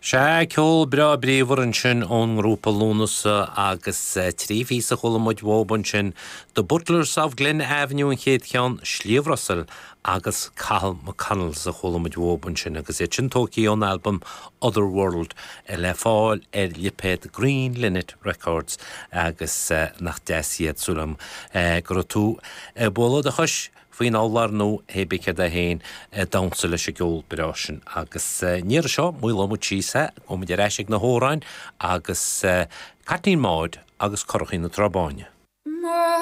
Sea, ceol breá bríomhar ansin ón ngrúpa Lúnasa agus 3 phíosa a chuala muid uathub ansin, The Butlers of Glen Avenue an chéad cheann, Sliabh Russell agus Cathal McConnells a chuala muid uathub ansin agus iad sin tógtha ón albam Other World le fáil ar lipéad Green Linnet Records agus nach deas iad, súil agam go raibh tú ag bualadh do chois faoin urlár nó hé bith céard é féin ag damhsa leis an gceol breá sin. Agus an iarraidh seo, maolóidh muid síos é, gabhfaidh muid ar ais ag na hamhráin agus Caitlín Maude agus Curachaí na Trá Báine.